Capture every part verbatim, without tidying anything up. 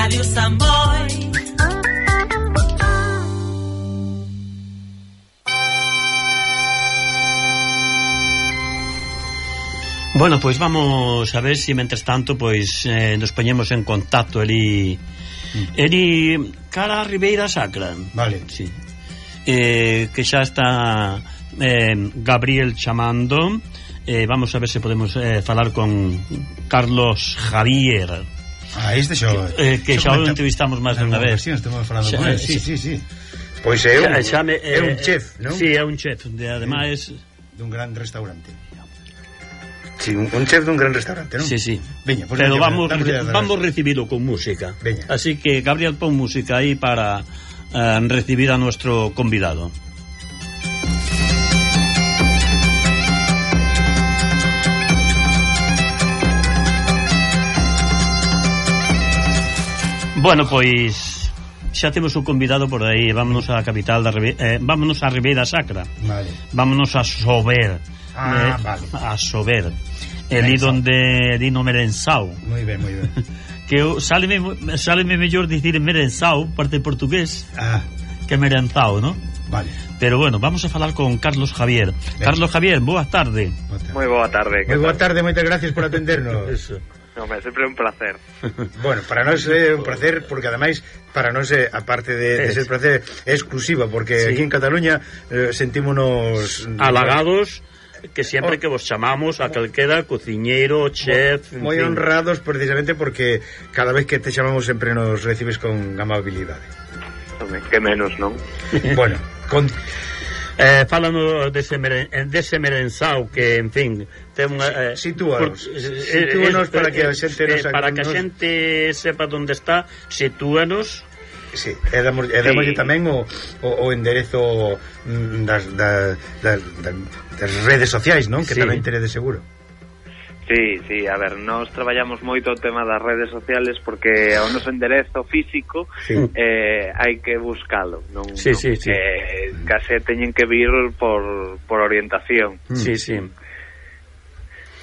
Radio Samboy. Bueno, pois vamos a ver se si, mentres tanto, pois eh, nos poñemos en contacto eli mm. eli cara a Ribeira Sacra. Vale. Sí. Eh, que xa está eh, Gabriel chamando. Eh, vamos a ver se podemos eh, falar con Carlos Javier. Ah, este xo. Que, eh, que xa o entrevistamos máis de unha vez. Sí, estamos falando xa, con él. Sí, sí, sí. sí. Pois é un, xa, xa me, eh, é un chef, non? Sí, é un chef, de, ademais dun gran restaurante. Sí, un, un chef dun gran restaurante, non? Sí, sí. Veña, pues pero veña, vamos, vamos, vamos recibilo con música. Veña. Así que, Gabriel, pon música aí para uh, recibir a nuestro convidado. Bueno, pois xa temos o convidado por aí. Vámonos á capital da Ribe... eh, vámonos á Ribeira Sacra. Vale. Vámonos a Sober. Ah, eh, vale. A Sober. Elí donde di no Merensao. Moi ben, moi ben. Que eu, sáleme, sáleme mellor dicir Merensao, parte de portugués, ah. que Merenzao, ¿no? Vale. Pero bueno, vamos a falar con Carlos Javier. Ben. Carlos Javier, boa tarde. Moi boa tarde. Moi boa tarde, moitas gracias por atendernos. Eso. No, me sempre un placer. Bueno, para nós é un placer, porque ademais para nós é, aparte de, de ser placer, é exclusiva, porque sí. Aquí en Cataluña eh, sentímonos halagados, que sempre oh. que vos chamamos a calquera cociñeiro, chef, moi honrados precisamente porque cada vez que te chamamos sempre nos recibes con amabilidade. Que menos, non? Bueno, con Eh, fálano dese, meren, dese Merenzao que, en fin, ten unha... Eh, sitúanos, por, sitúanos eh, para que a xente eh, para que a xente sepa onde está, sitúanos. Sí, e damos, e damos sí. tamén o, o, o enderezo das, das, das, das redes sociais, non? Que sí. Tamén teredes seguro. Sí, sí, a ver, nós traballamos moito o tema das redes sociales porque o noso enderezo físico sí. eh, hai que buscalo, non? Sí, non sí, sí. Eh, case teñen que vir por, por orientación. Sí, sí.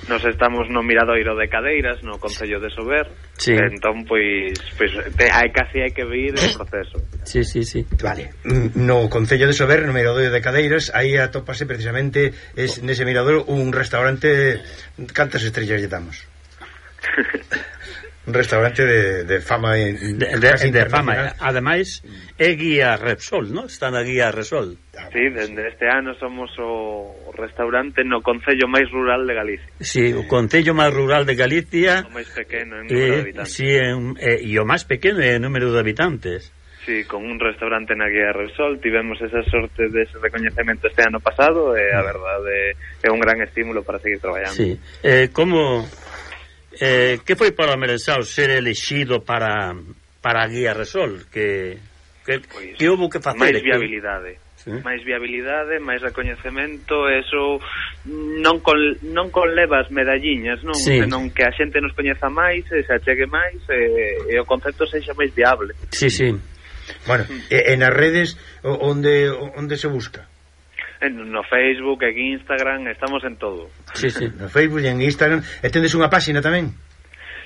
Nos estamos no Miradoiro de Cadeiras, no Concello de Sober, sí. Entón, pois, pois te, hai, casi hai que vir o proceso. Sí, sí, sí. Vale, no Concello de Sober, no Miradoiro de Cadeiras, aí atópase precisamente es, nese Miradoiro un restaurante. Cantas estrellas lle damos? Un restaurante de, de fama in, de, de, de fama, ademais é guía Repsol, ¿no? Está na guía Repsol. Sí, dende este ano somos o restaurante no concello máis rural de Galicia. Sí, o concello máis rural de Galicia. O máis pequeno en número eh, de habitantes. Sí, en, eh, e o máis pequeno en número de habitantes. Sí, con un restaurante na guía Repsol tivemos esa sorte dese recoñecemento este ano pasado e a verdade é un gran estímulo para seguir traballando. Sí, eh, como... Eh, que foi para o Merenzao ser elexido para para a guía Repsol? Que, que, pues, que houve que facer? Máis viabilidade. ¿Sí? Máis viabilidade, máis recoñecemento, eso non con, non con levas medalliñas, non? Sí. Senón que a xente nos coñeza máis, e se achegue máis, e, e o concepto sexa máis viable. Sí, sí. Bueno, e, en as redes onde onde se busca? No Facebook, en Instagram, estamos en todo. Sí, sí. No Facebook e en Instagram. E tendes unha páxina tamén?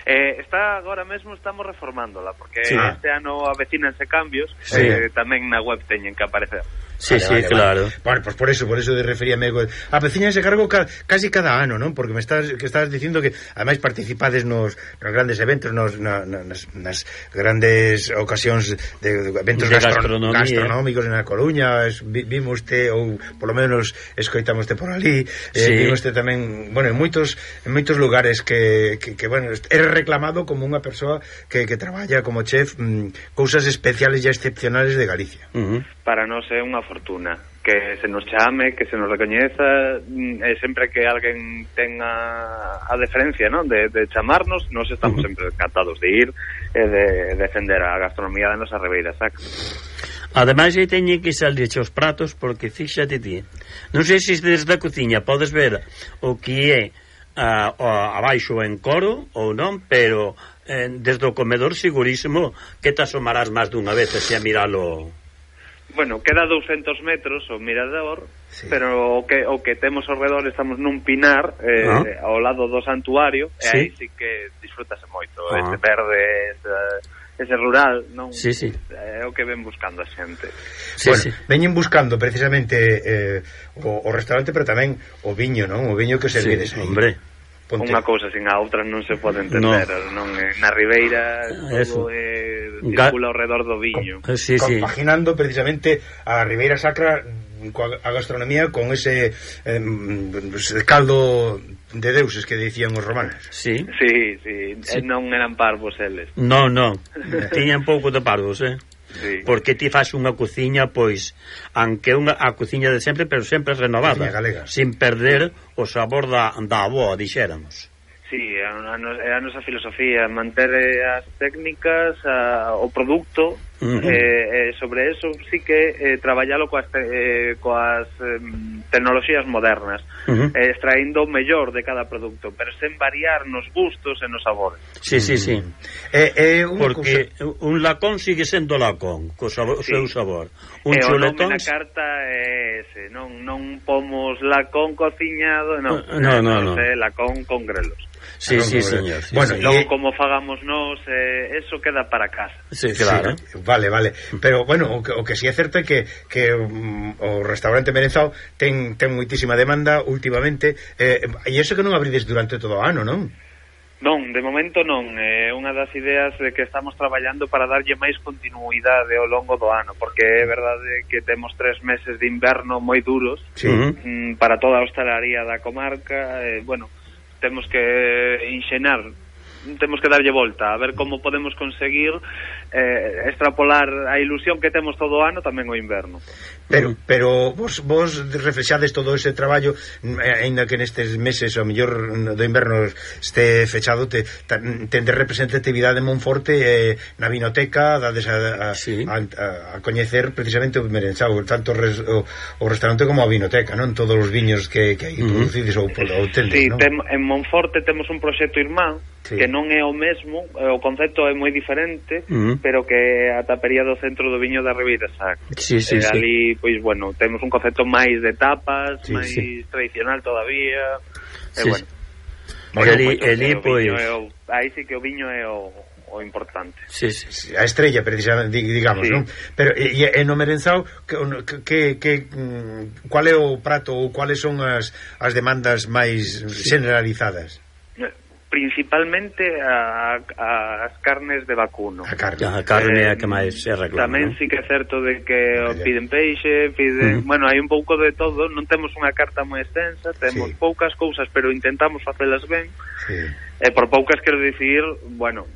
Eh, está agora mesmo estamos reformándola porque sí. Este ano avecínanse cambios, sí. eh, tamén na web teñen que aparecer. Sí, vale, sí, vale, claro. Vale. Bueno, pues por eso, por eso de referíame a veciña se cargo ca, casi cada ano, ¿no? Porque me estás que estás dicindo que ademais participades nos, nos grandes eventos, nos na, nas, nas grandes ocasións de, de eventos de gastron, gastronómicos na Coruña, es, vimos te ou polo menos escoitamos te por ali, eh, sí. vimos te tamén, bueno, en moitos en moitos lugares que, que, que bueno, eres reclamado como unha persoa que, que traballa como chef, mmm, cousas especiales e excepcionales de Galicia. Uh -huh. Para nós é unha fortuna que se nos chame, que se nos recoñeza, e sempre que alguén tenga a deferencia, ¿no? de, de chamarnos, nos estamos uh -huh. sempre encantados de ir e de defender a gastronomía da nosa Ribeira Sacra. Ademais, aí teñen que salir os pratos, porque fíxate ti, non sei se desde a cociña podes ver o que é a, a, abaixo en coro ou non, pero eh, desde o comedor segurísimo que te asomarás máis dunha vez se a miralo. bueno, queda douscentos metros o mirador, sí. Pero o que, o que temos ao redor estamos nun pinar eh, ah. ao lado do santuario, sí. E aí sí que disfrútase moito, ah. ese verde, ese, ese rural, non? Sí, sí. É o que ven buscando a xente. Sí, bueno, sí. Veñen buscando precisamente eh, o, o restaurante, pero tamén o viño, non? O viño que servides sí, aí. Hombre. Ponte. Unha cousa sin a outra non se pode entender, no. Non na ribeira todo é, circula ao redor do viño. Com, sí, compaginando sí. Precisamente a Ribeira Sacra a gastronomía con ese eh, caldo de deuses que dicían os romanos. Sí. Sí, sí, sí. Non eran parvos eles. Non, non. Tiñan pouco de parvos, eh. Sí. Porque ti faz unha cociña, pois, aunque unha a cociña de sempre, pero sempre renovada, sin perder o sabor da, da avoa, dixéramos. Sí, é a, a, a nosa filosofía, manter as técnicas, a, o produto, uh -huh. eh, eh, sobre eso sí que eh, traballalo coas, eh, coas eh, tecnoloxías modernas, uh -huh. eh, extraindo o mellor de cada produto, pero sen variar nos gustos e nos sabores. Sí, sí, sí. Eh, eh, Porque cosa... un lacón sigue sendo lacón, co sabor, sí. Seu sabor. Un e chuletón... o nome na carta é ese, non, non pomos lacón cociñado, non, no, no, no, no. É lacón con grelos. Sí, sí, señor. Sí, bueno, sí. Logo y... como fagamos nós, eh, eso queda para casa. Sí, claro. Sí, vale, vale. Pero, bueno, o que, o que sí é certo é que, que um, o restaurante Merenzao ten, ten moitísima demanda últimamente, eh, e iso que non abrides durante todo o ano, non? Non, de momento non. É unha das ideas de que estamos traballando para darlle máis continuidade ao longo do ano, porque é verdade que temos tres meses de inverno moi duros, sí. mm, para toda a hostalaría da comarca, e, bueno, temos que enxenar, temos que darlle volta a ver como podemos conseguir eh, extrapolar a ilusión que temos todo o ano tamén o inverno. Pero pero vos, vos reflexades todo ese traballo, aínda que nestes meses o mellor do inverno este fechado, te, tende representatividade en Monforte, eh, na vinoteca dades a, a, sí. a, a, a coñecer precisamente o Merenzao, tanto res, o, o restaurante como a vinoteca, non? Todos os viños que, que aí uh -huh. producides ou, ou tendes, sí, non? Tem, en Monforte temos un proxecto irmán, sí. Que non é o mesmo, o concepto é moi diferente, uh -huh. pero que a tapería do centro do viño da Ribeira Sacra. Sí, sí, eh, sí. Ali, pois, bueno, temos un concepto máis de tapas, sí, máis sí. tradicional todavía, e, sí, bueno. Porque ali, ali, pois... O, aí sí que o viño é o, o importante. Sí, sí. A estrella, precisamente, digamos, sí. Non? Pero, e, e no Merenzao, que, que, que, cual é o prato ou cuáles son as, as demandas máis sí. generalizadas? Principalmente a, a, as carnes de vacuno. A carne, a carne é eh, a que máis se reclama. Tamén ¿no? sí que é certo de que o piden peixe, piden, uh -huh. bueno, hai un pouco de todo, non temos unha carta moi extensa, temos sí. poucas cousas, pero intentamos facelas ben. Sí. E por poucas quero dicir, bueno,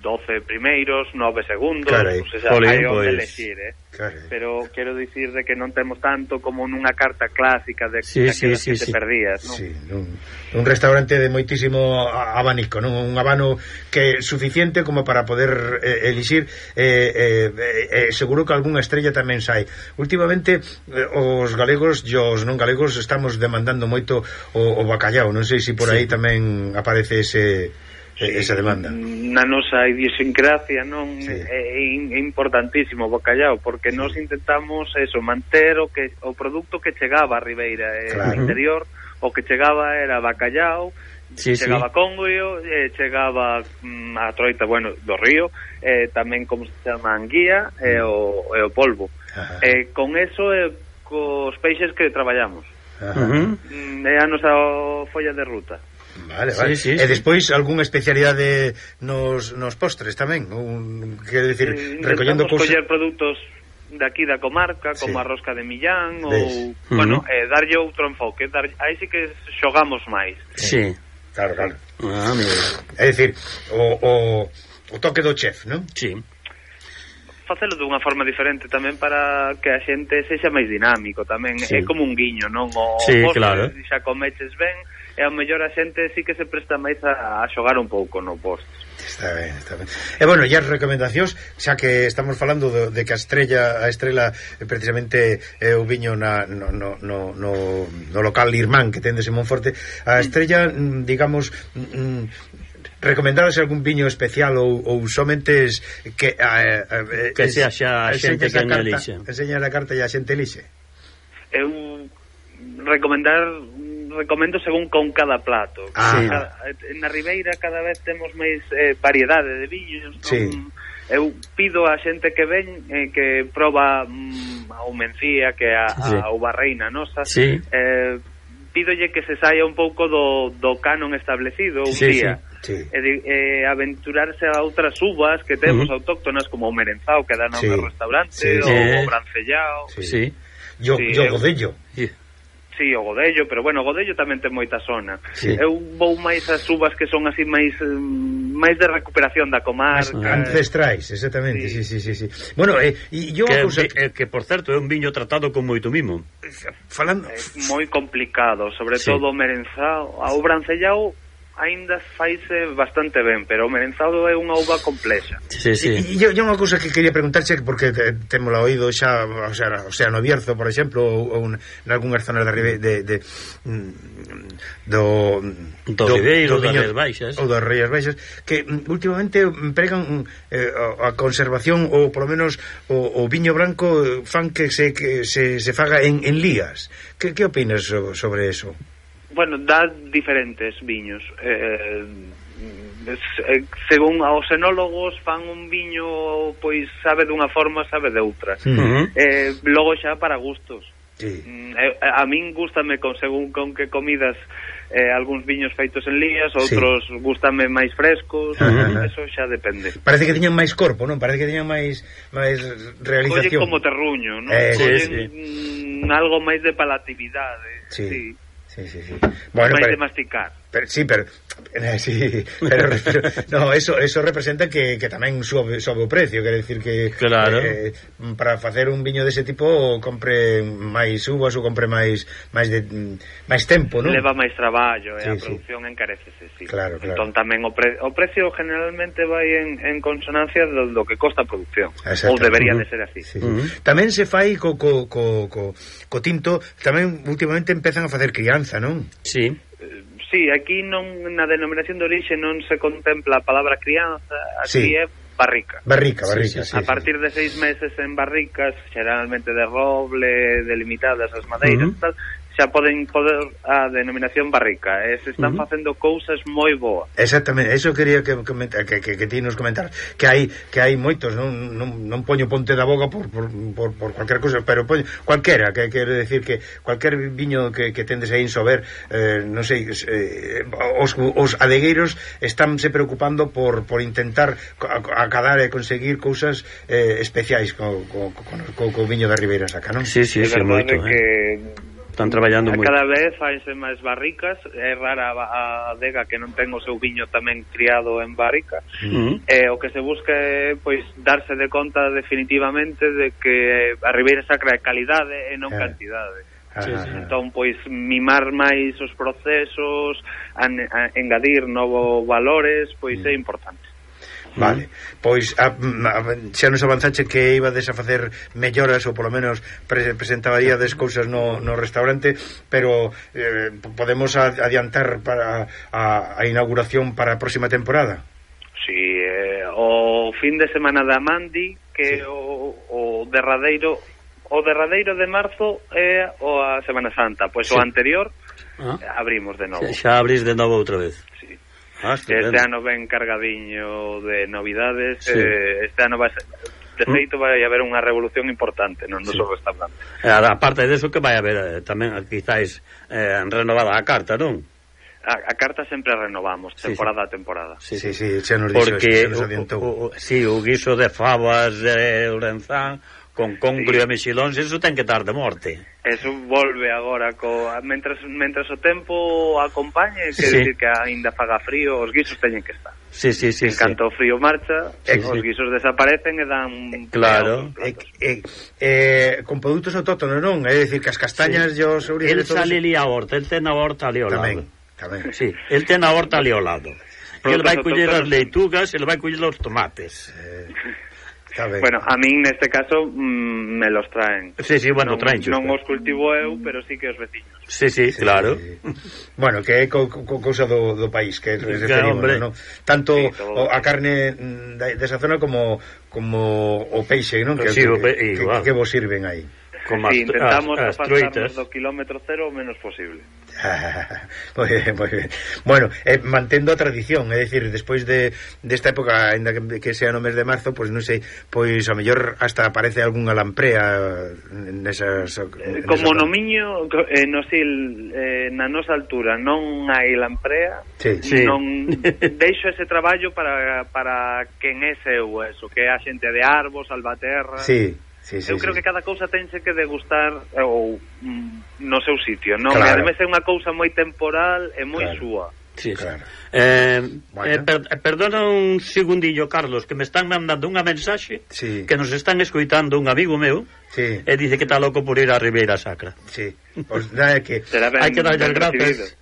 doce primeiros, nove segundos, Carai, o sea, Polín, hai onde pues, elegir, eh? Carai. Pero quero dicir de que non temos tanto como nunha carta clásica de sí, aquelas sí, que sí, te sí. perdías, non? Sí, un, un restaurante de moitísimo abanico, non? Un abano que é suficiente como para poder eh, elixir, eh, eh, eh, seguro que algunha estrella tamén sai. Últimamente eh, os galegos e os non galegos estamos demandando moito o, o bacallao, non sei se por aí sí. tamén aparece ese sí, esa demanda. Na nosa idiosincrasia, non, sí. é, é importantísimo o bacallao, porque nós intentamos eso, manter o que o produto que chegaba a Ribeira, claro. No interior, o que chegaba era bacallao, sí, chegaba sí. Congrio, eh, chegaba mm, a troita, bueno, do río, eh, tamén como se chama anguía, e eh, o, e o polvo. Eh, con eso e eh, cos peixes que traballamos. Ajá. Mm, é a nosa folla de ruta. Vale, vale. Sí, sí, e despois sí. algunha especialidade nos, nos postres tamén, un, quero dicir, mm, recollendo cousas, coller produtos de aquí da comarca, como sí. a rosca de Millán ou, uh -huh. bueno, eh, darlle outro enfoque, dar, aí sí que xogamos máis. Sí. Claro, claro. Ah, é dicir, o, o, o toque do chef, non? Sí. Facelo dunha forma diferente tamén para que a xente sexa máis dinámico tamén, sí. É como un guiño, non? O sí, postre, claro. Xa comeches ben, e ao mellor a xente sí que se presta máis a, a xogar un pouco no postre. Está ben, está ben. E bueno, e as recomendacións, xa que estamos falando de, de que a estrella, a estrela precisamente é o viño na, no, no, no, no, no local irmán que tendes en Monforte, a estrella, digamos, recomendadas algún viño especial ou, ou somente que eh, eh, que sea xa a xente que non elixe. Enseña a carta e a xente elixe. Eu recomendar recomendo según con cada plato. Ah. Cada, na Ribeira cada vez temos máis eh, variedade de viños. Sí. Non, eu pido a xente que ven eh, que proba mm, a mencía, que a, sí. a uva reina nosa, sí. eh, pídolle que se saia un pouco do, do canon establecido un sí, día sí. e de, eh, aventurarse a outras uvas que temos uh -huh. autóctonas como o merenzao que dan no sí. restaurante sí, o sí. o brancellao sí, sí. yo, sí, yo eu, godello sí. Sí, o godello, pero bueno, o godello tamén ten moita zona. Sí. Eu vou máis as uvas que son así máis máis de recuperación da comarca. Ancestrais, exactamente, sí, sí, sí, sí. Bueno, eh, e yo que, cosa... que, que, por certo, é un viño tratado con moito mimo. Falando... É moi complicado, sobre sí. todo o merenzao. O brancellao aínda faise bastante ben, pero o merenzado é unha uva complexa. Sí, sí. E yo, yo unha cousa que quería preguntarche, porque te, témola oído xa, o sea, o sea, no Bierzo, por exemplo, ou, ou nalgúnas zonas da Ribe, de, de, do do Ribeiro, das Rías Baixas, ou das Rías Baixas, que últimamente empregan eh, a conservación ou polo menos o, o viño branco fan que se que se, se faga en, en lías. Que, que opinas sobre eso? Bueno, dá diferentes viños. Eh, eh, según aos enólogos fan un viño, pois sabe dunha forma, sabe de outra. Uh -huh. Eh, logo xa para gustos. Sí. Eh, a min gústame con según con que comidas eh, algúns viños feitos en lías, outros sí. gústame máis frescos, uh -huh. eso xa depende. Parece que tiñan máis corpo, non? Parece que tiñan máis máis realización. Collen como terruño, non? Eh, Collen sí, sí. algo máis de palatividade. Sí. Sí. Sí, sí, sí. Bueno, máis pero, de masticar. Pero, sí, pero eh, sí, pero, pero no, eso eso representa que, que tamén sobe, sobe o precio, quere decir que claro. eh, para facer un viño dese tipo compre máis uvas ou compre máis máis de máis tempo, non? Leva máis traballo sí, e a sí. produción encarecese, sí. Claro, claro. Entón tamén o, pre, o precio generalmente vai en, en consonancia do, do que costa a producción. Ou debería uh -huh. de ser así. Sí, sí. Uh -huh. Tamén se fai co, co, co, co, co tinto, tamén últimamente empezan a facer crianza, non? Sí. Sí, aquí non na denominación de orixe non se contempla a palabra crianza, aquí sí. é barrica. Barrica, barrica, sí, sí, sí. A partir de seis meses en barricas, xeralmente de roble, delimitadas as madeiras, uh -huh. tal, xa poden poder a denominación barrica, e se están uh -huh. facendo cousas moi boas. Exactamente, eso quería que comentar, que, que, que ti nos comentar, que hai que hai moitos, non non, non poño ponte da boca por, por, por, por cualquier cousa, pero poño cualquera, que quere decir que cualquier viño que, que tendes aí en Sober, eh, non sei, eh, os, os adegueiros estánse preocupando por, por intentar acadar e conseguir cousas eh, especiais co, co, co, co, co viño da Ribeira Sacra, non? Sí, sí, sí, moito, que eh. Están traballando moito. Cada vez faise máis barricas, é rara a adega que non ten o seu viño tamén criado en barrica. Uh -huh. E o que se busca é pois darse de conta definitivamente de que a Ribeira Sacra é calidade e non yeah. cantidade. Sí, sí. Entón, pois, mimar máis os procesos, an, a, engadir novos valores, pois mm. é importante. Vale, pois a, a, xa nos avanzache que ibades a facer melloras ou polo menos pre, presentaríades cousas no, no restaurante, pero eh, podemos adiantar para a, a inauguración para a próxima temporada? Si, sí, eh, o fin de semana da Mandi, que sí. o, o derradeiro o derradeiro de marzo é o a Semana Santa, pois sí. o anterior ah. abrimos de novo. Xa abrís de novo outra vez. Sí. Ah, este ano ven cargadiño de novidades, sí. eh, este ano vai ser, de feito vai haber unha revolución importante no noso sí. restaurante. A parte de eso que vai haber eh, tamén quizáis eh, renovada a carta, non? A, a carta sempre renovamos, temporada sí, sí. a temporada. Sí, sí, sí, xa nos dixo, xa nos adiantou. O, o, sí, o guiso de fabas de Lorenzán con congrio sí. e mexilóns, eso ten que estar de morte. Eso volve agora co mentras mentras o tempo acompañe, que sí. decir que aínda faga frío, os guisos teñen que estar. Sí, sí, sí. En canto o sí. frío marcha, sí, os sí. guisos desaparecen e dan claro. Eh, eh, eh, con produtos autóctonos, non? É dicir que as castañas sí. e os ourices. El sale ali a horta, el ten a horta ali ao lado. Tamén, tamén. Sí, el ten a horta ali ao lado. El vai coller as leitugas, el vai coller os tomates. Eh Bueno, a min neste caso mm, me los traen. Sí, sí, bueno, non, traen. Non os cultivo eu, pero sí que os veciños. Sí, sí, sí, claro. Sí. Bueno, que é co, co, cousa do, do país que referimos, hombre. ¿no? Tanto sí, o, a carne de, desa zona como como o peixe, non? Que, sí, que, o pe... que, igual. que, que vos sirven aí. Como sí, intentamos as, as pasarnos do kilómetro cero o menos posible. Moi ben, moi ben. Bueno, eh, mantendo a tradición, é dicir, despois de desta época, ainda que, que sea no mes de marzo, pois non sei, pois a mellor hasta aparece algunha lamprea nesas, nesas como no miño, eh, no sil, eh, na nosa altura non hai lamprea, sí. Sí. Non deixo ese traballo para, para quen é seu, eso, que é a xente de Arbos, Albaterra. Sí. Sí, sí, eu creo sí. que cada cousa tense que degustar ou mm, no seu sitio, non? Claro. E ademais é unha cousa moi temporal e moi Claro. súa. Sí, claro. eh, bueno. eh, per, perdona un segundillo, Carlos, que me están mandando unha mensaxe sí. que nos están escoitando un amigo meu, sí. e dice que está loco por ir a Ribeira Sacra. Sí, pois nada que hai que darlle as grazas.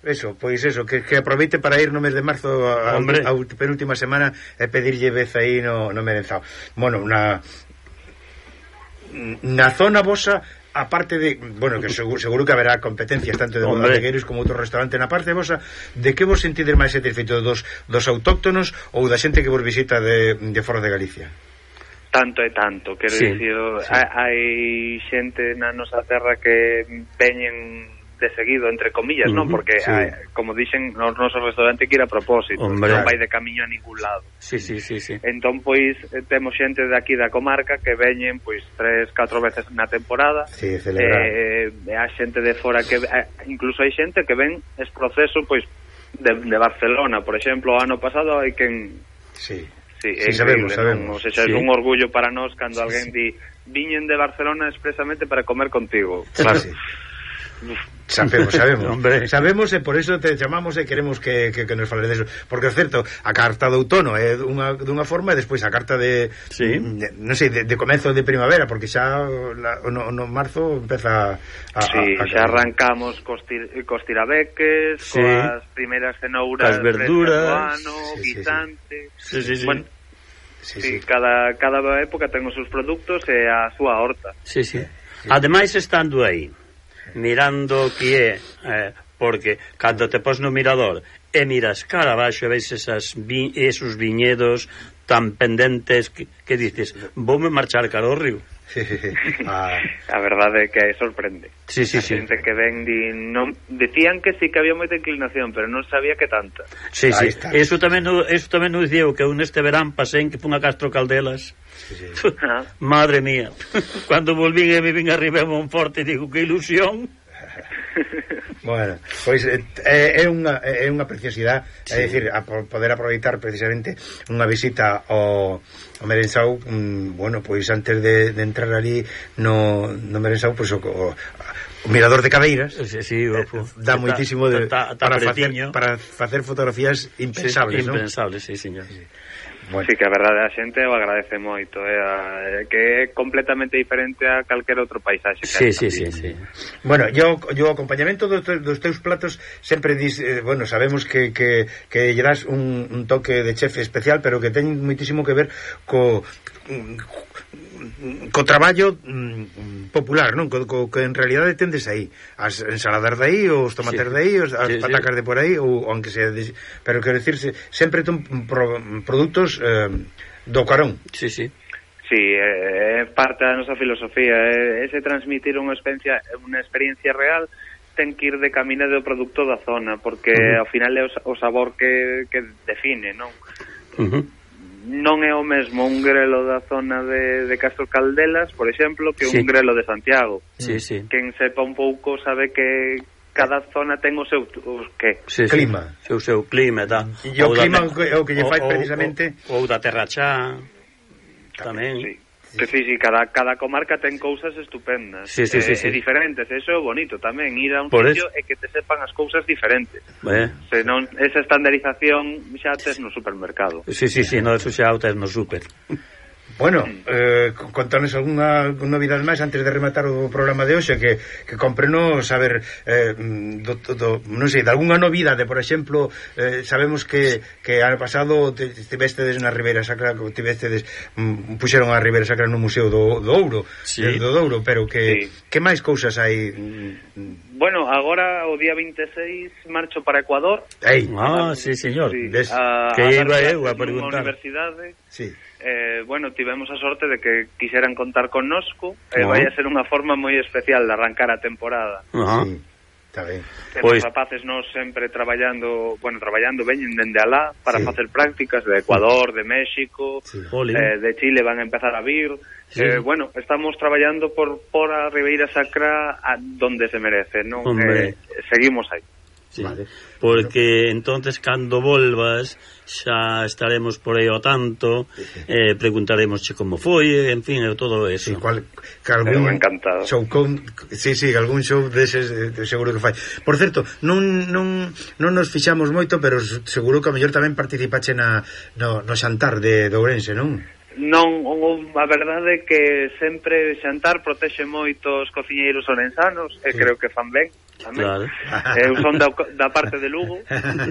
Eso, pois eso, que, que aproveite para ir no mes de marzo a, a, a penúltima semana e pedirlle vez aí no, no merenzao. Bueno, na na zona vosa, aparte de, bueno, que seguro, seguro que haberá competencias tanto de bodegueiros como outro restaurante, na parte vosa, de que vos sentides máis satisfeito, dos, dos autóctonos ou da xente que vos visita de, de fora de Galicia? Tanto e tanto, quero sí, dicir, sí. hai xente na nosa terra que veñen de seguido, entre comillas, uh-huh, non? Porque, sí. hai, como dixen, no noso restaurante que ir a propósito, hombre, non vai de camiño a ningún lado. Sí, sí, sí, sí. Entón, pois, temos xente de aquí da comarca que veñen, pois, tres, catro veces na temporada. Sí, celebrar. Eh, e a xente de fora que... Eh, incluso hai xente que ven ese proceso, pois, de, de Barcelona, por exemplo, o ano pasado hai quen... Sí. Sí, sí, sabemos, sabemos. Non? O sea, sí. É un orgullo para nós cando sí, alguén sí. di viñen de Barcelona expresamente para comer contigo. Claro. Sí. Sabemos, sabemos. Sabemos e por iso te chamamos e queremos que, que, que nos fales deso. Porque é certo, a carta de outono é dunha, dunha forma e despois a carta de, sí. de non sei, de, de comezo de primavera, porque xa la, no, no marzo empeza a, sí, a, a, xa arrancamos cos, tir, cos tirabeques, sí. coas primeiras cenouras, as verduras, ano, sí, guisante. Sí, sí, sí. Bueno, sí, sí, sí. cada, cada época ten os seus produtos e a súa horta. Sí, sí. sí. Ademais, estando aí mirando que é eh, porque cando te pos no mirador e miras cara abaixo e veis esas vi, esos viñedos tan pendentes que, que dices, voume marchar cara ao río. ah. A verdade é que sorprende. Sí, sí, a sí. xente que ven di, non, decían que sí que había moita inclinación, pero non sabía que tanta. Sí, sí. Está. Eso tamén no, eso tamén nos dicía que un este verán pasei que fun a Castro Caldelas. Sí, sí. Ah. Madre mía. Cando volvín e me vin arriba a Monforte, digo, que ilusión. Bueno, pois é, é unha é unha preciosidade, sí. É dicir, a poder aproveitar precisamente unha visita ao, ao Merenzao, um, bueno, pois antes de, de entrar ali no, no Merenzao, pois o, o, o mirador de Cabeiras, sí, sí, eh, dá moitísimo de, ta, ta, ta para facer para facer fotografías impensables, sí, ¿no? Impensables, sí, señor. Sí. Bueno. Sí, que a verdade a xente o agradece moito, eh, que é completamente diferente a calquer outro paisaxe. Sí, sí, sí, sí. Bueno, yo yo acompañamento dos, dos teus platos sempre dis, eh, bueno, sabemos que, que, que lle das un, un toque de chef especial, pero que ten moitísimo que ver co co traballo mm, popular, non? Co, co, que en realidade tendes aí as ensaladas de aí, os tomates sí. de aí, os, as sí, patacas sí. de por aí, ou, ou aunque sea de, pero quero dicirse, sempre ton pro, produtos eh, do carón. Sí, sí. Sí, é eh, parte da nosa filosofía, é, ese transmitir unha experiencia, unha experiencia real ten que ir de camino do produto da zona, porque uh-huh. ao final é o, o sabor que, que define, non? Uh-huh. Non é o mesmo un grelo da zona de, de Castro Caldelas, por exemplo, que sí. un grelo de Santiago. Sí, sí. Quen sepa un pouco sabe que cada zona ten o seu o que? Sí, clima. Sí. O seu clima, tá. E o clima é o que lle fai precisamente ou da Terra Chá tamén. Sí. Sí, sí, sí, cada, cada comarca ten cousas estupendas, sí, sí, eh, sí, sí. e diferentes, eso é bonito tamén, ir a un por sitio es... e que te sepan as cousas diferentes. Eh. Se non, esa estandarización xa tes no supermercado. Sí, sí, sí, no, eso xa tes no super. Bueno, eh, contanos algunha novidade máis antes de rematar o programa de hoxe, que, que comprenos saber eh, do, do, non sei, de algunha novidade, por exemplo, eh, sabemos que, que ano pasado estivestedes na Ribeira Sacra, estivestedes, mm, puxeron a Ribeira Sacra no Museo do, do Ouro, sí. do Douro, pero que, sí. que máis cousas hai? Bueno, agora o día veintiséis marcho para Ecuador. Ei. Ah, sí, señor. Sí, Des... a, que a iba eu a nunha preguntar. universidade. Sí. Eh, bueno, tivemos a sorte de que quixeran contar connosco e eh, Ah. vai a ser unha forma moi especial de arrancar a temporada. Ajá. Sí, está ben. Temos Pois- rapaces nos sempre traballando, bueno, traballando veñen dende alá para Sí. facer prácticas de Ecuador, de México, Sí. Jolín. eh, de Chile van a empezar a vir. Sí. Eh, bueno, estamos traballando por por a Ribeira Sacra a donde se merece, non? Hombre. Eh, seguimos aí. Sí. Vale. Porque entonces cando volvas xa estaremos por aí ao tanto, eh, preguntaremosche como foi, en fin, e todo eso. Sí, cual, que algún Pero encantado. show con, sí, sí, algún show deses de, seguro que fai. Por certo, non, non, non nos fixamos moito, pero seguro que a mellor tamén participache na, no, no xantar de, de Ourense, non? Non, o, a verdade é que sempre xantar protexe moito os cociñeiros orensanos e Sí. creo que fan ben tamén. Claro. Eu son da, da parte de Lugo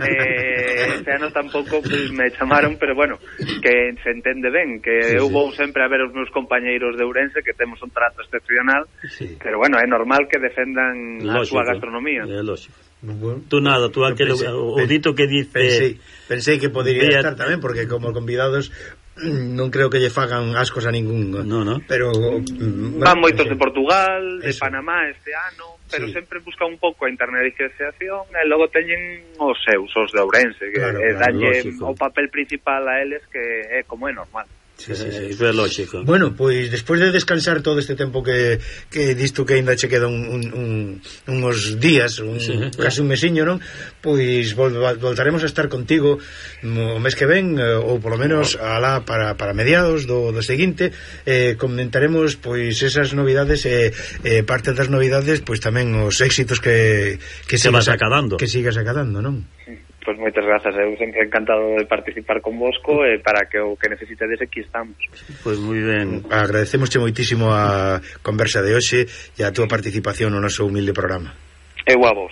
e este ano tampouco pues, me chamaron, pero bueno, que se entende ben que Sí, eu sí. vou sempre a ver os meus compañeiros de Ourense que temos un trato excepcional, Sí. pero bueno, é normal que defendan a súa gastronomía. É lógico. Bueno, Tú nada, tú aquel, pensei- o dito que dice... Pensei, pensei que podería Vea- estar tamén, porque como convidados non creo que lle fagan ascos a ningún. No, no. Pero mm, Van bueno, moitos sí. de Portugal, de Eso. Panamá este ano, pero Sí. sempre buscan un pouco a internacionalización e logo teñen os seus, os de Ourense, que Claro, eh, claro, dalle lógico. o papel principal a eles que é como é normal. Sí, sí, sí. Eh, Iso é lógico. Bueno, pois despois de descansar todo este tempo que, que disto que ainda che queda un, un, un, uns días, un, Sí. casi un mesiño, non? Pois vol, voltaremos a estar contigo o mes que ven, eh, ou polo menos alá para, para mediados do, do seguinte, eh, comentaremos pois esas novidades e eh, eh, parte das novidades, pois tamén os éxitos que, que Se vas acadando. que sigas acadando, non? Pois moitas grazas, eu sempre encantado de participar con vosco e para que o que necesitedes aquí estamos. Pois moi ben. Agradecemosche moitísimo a conversa de hoxe e a túa participación no noso humilde programa. Eu a vos.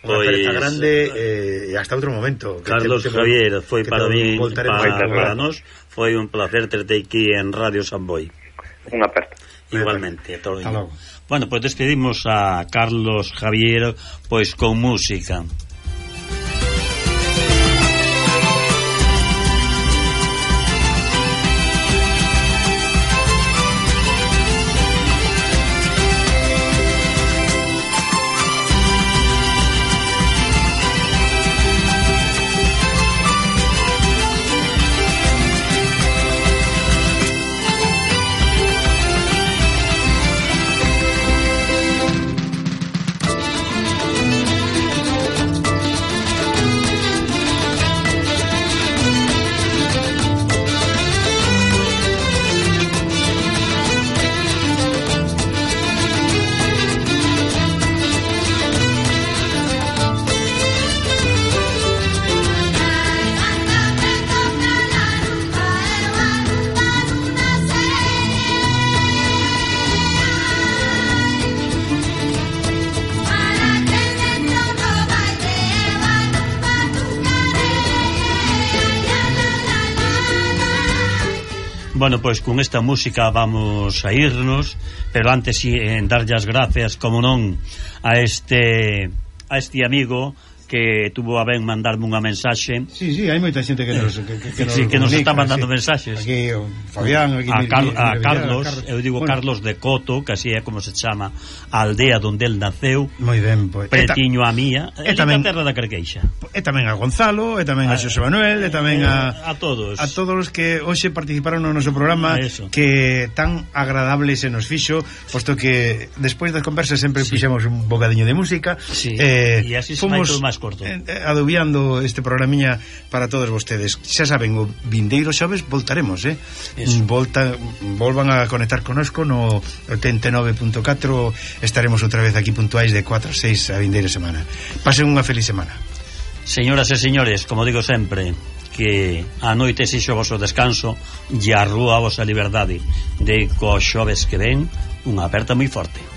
Unha Pois, aperta grande eh, e hasta outro momento. Que Carlos te- te- Javier, foi que para te mí, voltaremos para, a- para nos, foi un placer terte aquí en Radio Samboy. Unha aperta. Igualmente, todo. Hasta logo. Bueno, pois pues despedimos a Carlos Javier pois con música. Bueno, pois con esta música vamos a irnos, pero antes si, en darlle as gracias, como non, a este a este amigo que tuvo a ben mandarme unha mensaxe. Sí, sí, hai moita xente que nos que, que, que Sí, que nos comunica, está mandando sí. mensaxes. Aquí o Fabián, aquí a, mi- Car mi- a mi- Carlos, Carlos. eu digo Bueno, Carlos de Coto, que así é como se chama a aldea onde el naceu, moi ben, pois. pretiño a mía, e e tamén- tamén terra da Carqueixa. E tamén a Gonzalo, e tamén a Xosé Manuel, e tamén a a todos. a todos os que hoxe participaron no noso programa, Eso. que tan agradable se nos fixo, posto que despois das conversas sempre Sí. fixemos un bocadiño de música. Sí, eh, e así se vai todo máis corto. eh, adubiando este programiña para todos vostedes. Xa saben, o vindeiro xoves voltaremos, eh? Eso. Volta, volvan a conectar conosco no oitenta e nove punto catro, estaremos outra vez aquí puntuais de cuatro a seis a vindeira semana. Pasen unha feliz semana. Señoras e señores, como digo sempre, que a noite sexo o vosso descanso e a rúa a vosa liberdade, de co xoves que ven unha aperta moi forte.